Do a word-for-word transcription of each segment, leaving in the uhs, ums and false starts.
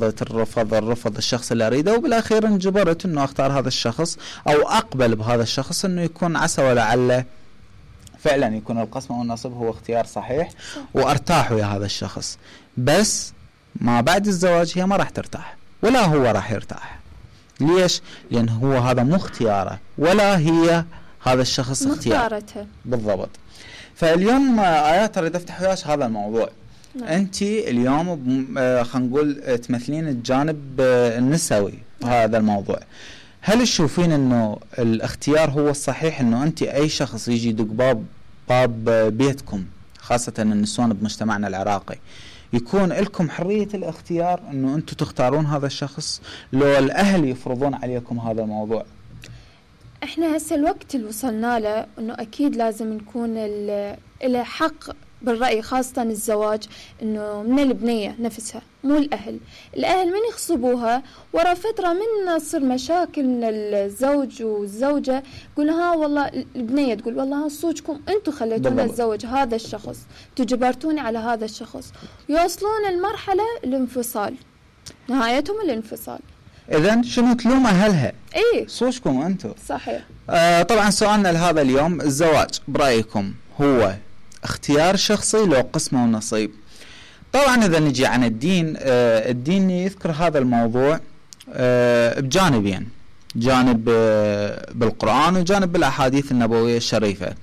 الرفض الرفض الشخص اللي اريده، وبالاخير انجبرت انه اختار هذا الشخص او اقبل بهذا الشخص، انه يكون عسى ولعله فعلا يكون القسم او النصب هو اختيار صحيح وارتاح ويا هذا الشخص. بس ما بعد الزواج هي ما راح ترتاح ولا هو راح يرتاح. ليش؟ لان هو هذا مو اختياره ولا هي هذا الشخص اختياره بالضبط. فاليوم ايات اريد افتح وياك هذا الموضوع. نعم. انت اليوم خلينا نقول تمثلين الجانب النسوي بهذا الموضوع. هل تشوفين انه الاختيار هو الصحيح، انه انت اي شخص يجي يدق باب باب بيتكم خاصة النسوان بمجتمعنا العراقي يكون لكم حرية الاختيار انه انتم تختارون هذا الشخص، لو الاهل يفرضون عليكم هذا الموضوع؟ احنا هسه الوقت اللي وصلنا له انه اكيد لازم نكون له حق بالرأي، خاصة الزواج انه من البنية نفسها مو الاهل. الاهل من يخصبوها ورا فترة من تصير مشاكل من الزوج والزوجة، يقول ها والله البنية تقول والله ها صوجكم انتم خليتونا الزوج هذا الشخص، تجبرتوني على هذا الشخص، يوصلون المرحلة الانفصال، نهايتهم الانفصال. إذن شنو تلوم أهلها؟ إيه صوجكم أنتم. صحيح. آه طبعا سؤالنا لهذا اليوم، الزواج برأيكم هو اختيار شخصي لو قسمه ونصيب؟ طبعا إذا نجي عن الدين، آه الدين يذكر هذا الموضوع آه بجانبين، جانب آه بالقرآن وجانب بالأحاديث النبوية الشريفة،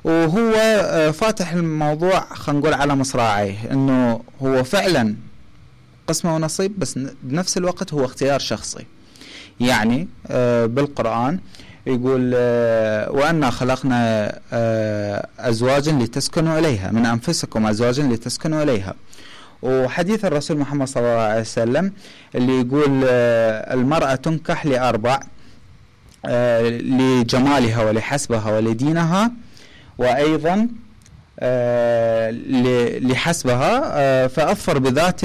وهو آه فاتح الموضوع خلينا نقول على مصراعيه، إنه هو فعلا قسمه ونصيب بس بنفس الوقت هو اختيار شخصي. يعني آه بالقرآن يقول آه وأنا خلقنا آه أزواجا لتسكنوا إليها، من أنفسكم أزواجا لتسكنوا إليها. وحديث الرسول محمد صلى الله عليه وسلم اللي يقول آه المرأة تنكح لأربع، آه لجمالها ولحسبها ولدينها، وأيضا آه لحسبها آه فأظفر بذات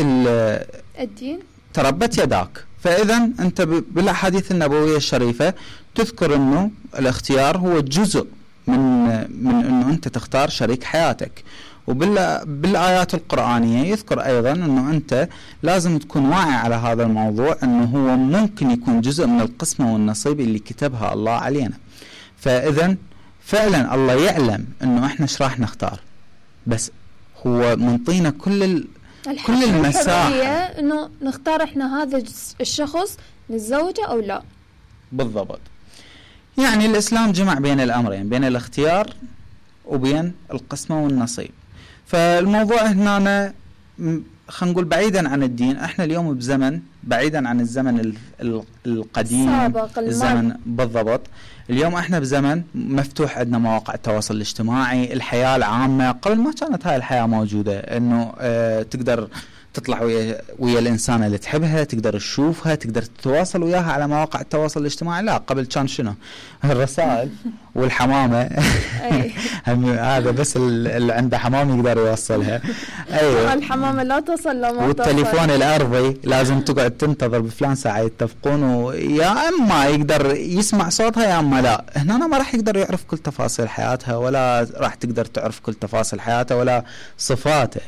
الدين تربت يداك. فإذا أنت بالأحاديث النبوية الشريفة تذكر أنه الاختيار هو جزء من من أنه أنت تختار شريك حياتك، وبالآيات القرآنية يذكر أيضا أنه أنت لازم تكون واعي على هذا الموضوع، أنه هو ممكن يكون جزء من القسمة والنصيب اللي كتبها الله علينا. فإذا فعلا الله يعلم أنه إحنا إيش راح نختار، بس هو منطينا كل ال كل المساحة انه نختار احنا هذا الشخص نتزوجه او لا. بالضبط. يعني الاسلام جمع بين الامرين، بين الاختيار وبين القسمة والنصيب. فالموضوع هنا خلينا نقول بعيدا عن الدين، احنا اليوم بزمن بعيدا عن الزمن القديم الزمن بالضبط. اليوم احنا بزمن مفتوح، عندنا مواقع التواصل الاجتماعي، الحياة العامة. قبل ما كانت هاي الحياة موجودة، انه اه تقدر تطلع ويا, ويا الانسان اللي تحبها، تقدر تشوفها، تقدر تتواصل وياها على مواقع التواصل الاجتماعي. لا، قبل كان شنو؟ الرسائل والحمامة. هذا بس اللي عنده حمام يقدر يوصلها. ايوه الحمامة لا تصل لو ما والتليفون الارضي لازم تقعد تنتظر بفلان ساعة يتفقون، ويا اما يقدر يسمع صوتها يا اما لا. هنا ما راح يقدر يعرف كل تفاصيل حياتها، ولا راح تقدر تعرف كل تفاصيل حياتها ولا صفاته.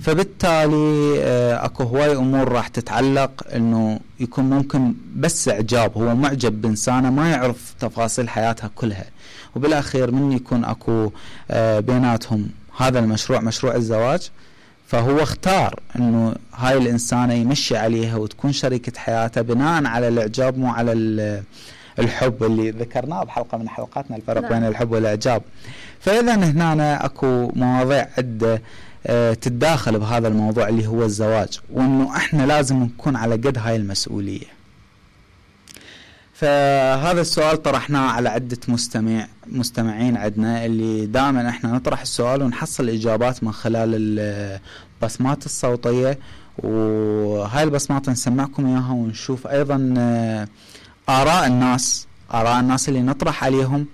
فبالتالي اكو هواي امور راح تتعلق انه يكون ممكن بس اعجاب، هو معجب بانسانه ما يعرف تفاصيل حياتها كلها، وبالاخير من يكون اكو بيناتهم هذا المشروع مشروع الزواج، فهو اختار انه هاي الانسانه يمشي عليها وتكون شريكه حياته بناء على الاعجاب مو على الحب اللي ذكرناه بحلقه من حلقاتنا، الفرق لا. بين الحب والاعجاب. فاذا هنا اكو مواضيع عده تتداخل بهذا الموضوع اللي هو الزواج، وانه احنا لازم نكون على قد هاي المسؤولية. فهذا السؤال طرحناه على عدة مستمع مستمعين عندنا، اللي دائما احنا نطرح السؤال ونحصل اجابات من خلال البصمات الصوتية، وهاي البصمات نسمعكم اياها ونشوف ايضا اراء الناس اراء الناس اللي نطرح عليهم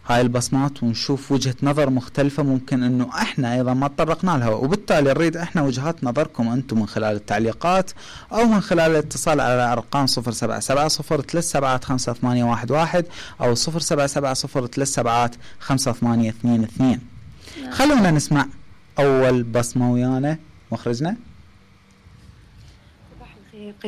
هاي البصمات، ونشوف وجهة نظر مختلفة ممكن انه احنا ايضا ما تطرقنا لها، وبالتالي نريد احنا وجهات نظركم انتم من خلال التعليقات او من خلال الاتصال على ارقام صفر سبعة سبعة صفر ثلاث سبعات خمسة ثمانية واحد واحد او صفر سبعة سبعة صفر ثلاث سبعات خمسة ثمانية اثنين اثنين. خلونا نسمع اول بصمة ويانا مخرجنا.